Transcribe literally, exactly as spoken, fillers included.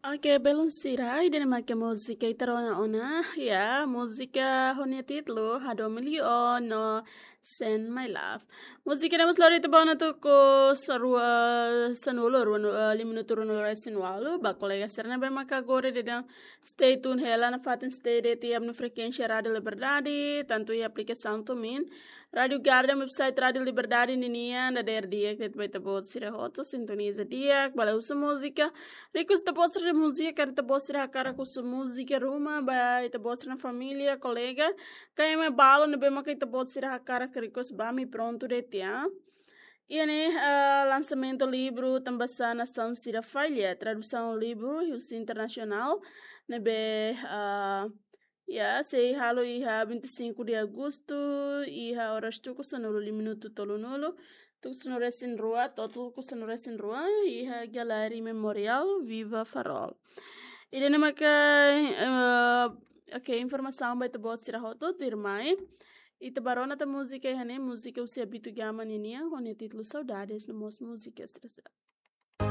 Oke, belun sira, ida-ne'e mak múzika ita rona ona, ya, múzika ho nia títulu Hadomi Liu no Send My Love. Múzika ne'e mós lori ita ba ona tuku sanulu, rua, eh, lima minutu ruanulu-resin-ualu, ba kolega sira ne'ebé maka agora daudaun stay tune hela nafatin stay de'it iha ami-nia frekuénsia Rádiu Liberdade, tantu iha aplikasaun TuneIn, Rádiu Garden, website Rádiu Liberdade ninian, dadeer di'ak de'it ba ita-boot sira hotu, sintoniza di'ak, bele husu múzika, request ita-boot sira múzika, karik ita-boot sira hakarak husu múzika ruma ba ita-boot sira-nia família, kolega, ka ema balu ne'ebé maka ita-boot sira hakarak request ba ami prontu de'it ya. Iha ne'e, ah, lansamentu livru Tanbasá Nasaun Sira Falla, tradusaun livru husi internasionál, ne'ebé, ah, ya, sei halo iha vinte e cinco de agosto, iha oras tuku sanulu lima minutu tolunulu, tuku sanulu-resin-rua, to'o tuku sanulu-resin-rua, iha Galeri Memorial Viva Farol. Ida-ne'e maka, eh, oke, informasaun ba ita-boot sira hotu, tuirmai ita bá rona tan múzika iha ne'e, múzika husi Abito Gama ninian, ho nia títulu Saudades, no mós múzika sira seluk.